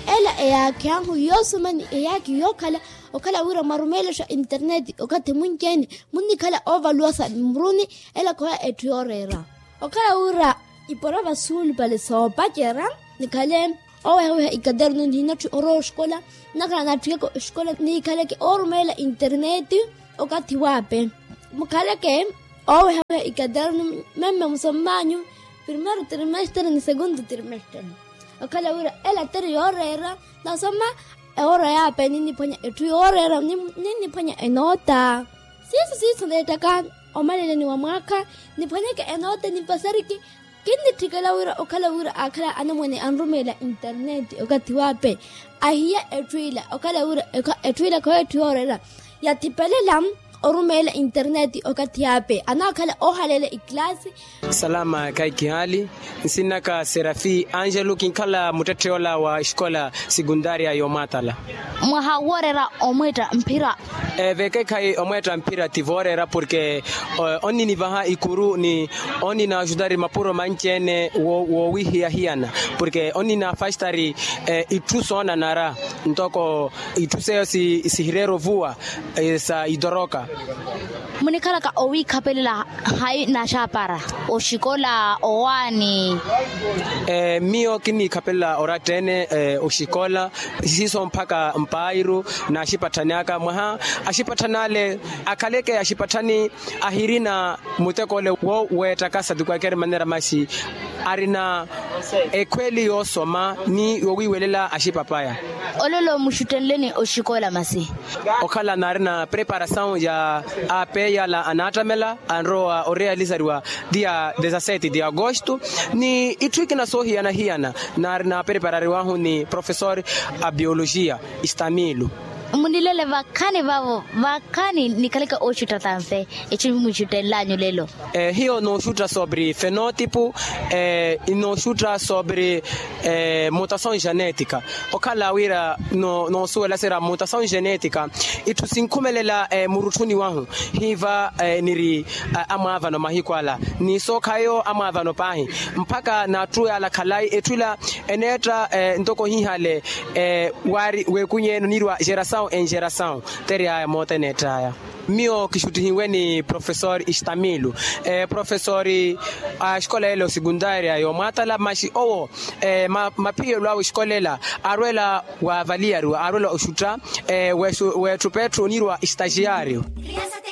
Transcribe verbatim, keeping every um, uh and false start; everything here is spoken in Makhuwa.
Ela eyaakhi anhu yoosoma ni eyaakhi yookhala okhala wira mwarumeelexa internet okathi mwinci-ene munnikhala oovaluwasa mmuruni. Ela khoya etthu yooreera okhala wira ipora vasuulupale soopacerya nikhale oowehaweha ikaternu nihinatthi orowa oxikola nnakhala naatthikeke oxikola nikhaleke oorumeela internet. Okathi waape mukhaleke oowehaweha ikaternu memme musomm'anyu primeiro trimestre ni segundo trimestre. Okhala wira ela tiri yooreera nasoma ewoora yaape ninniphwanya etthu yooreera ninniphwanya enoota siiso siiso neettaka omaleleni wa mwaakha niphwanyeke enoota nimpasariki. Kinnitthikela wira okhala wira aakhala anamwane anrumeela internet okathi waape ahiya etthu ila okhala wira etthu ila khoyo etthu yooreera yathipelela orumeela internet okathi yaape anaakhala oohaleela ikilasi. Salama khayi kihaali nsinnaka serafi angelo kinkhala muttetthe ola wa exikola sekundaria y'omwaatala. Mwaha wooreera omweetta mphira. Vekeekhayi omweetta mphira ti vooreera porke onninivaha ikuru ni onninaxutari mapuro manci-ene woowihiya hiyana porke onninafaxutari itthu soonanara ntoko itthu seyo sihireera ovuwa sa itoroka. Munikhalaka owiikhapelela hayi naxapara oxikola owaani? Miyo kinniikhapelela oratta-ene oxikola siiso mpakha mpairu n'axipatthani aka mwaha axipatthani ale akhaleke axipatthani ahirina muteko ole wo weettaka satukwakeri manera masi arina ekhweli yoosoma ni yowiiwelela axipapaya. Olelo muxuttenleni oxikola masi? Okhala naarina preparasawu ya apeyi ala anaattamela anrowa orealizariwa dia dezasete de agosto ni itthu ikina soohiyana-hiyana naarina preparariwahu ni profesor a biologia. Istamilo. Munilele vakhani vavo vakhani nikhaleke ooxutta tanse? Itthu muxuttenlanyu lelo. Hiyo nooxutta sobre fenotipo. Inooxutta sobre mutasawu genetika okhala wira noosuwela sira mutasawu genetika itthu sinkhumelela murutthuni wahu hiiva niri amwaavano mahiku ala ni sookhayo amwaavano paahi mpakha n'atthu yaala khalayi etthu ila eneetta ntoko hihale waari weekunyeene onirwa gerasawu enxerasawu. Teriyaya moota eneett'aya miyo kixuttihiwe ni profesor istamilo profesor a exikola ela osekundaria y'omwaatala maxi owo maphiyelo awe exikola ela aarwela waavaliyariwa aarwela oxutta weetthupa etthu onirwa estagiario.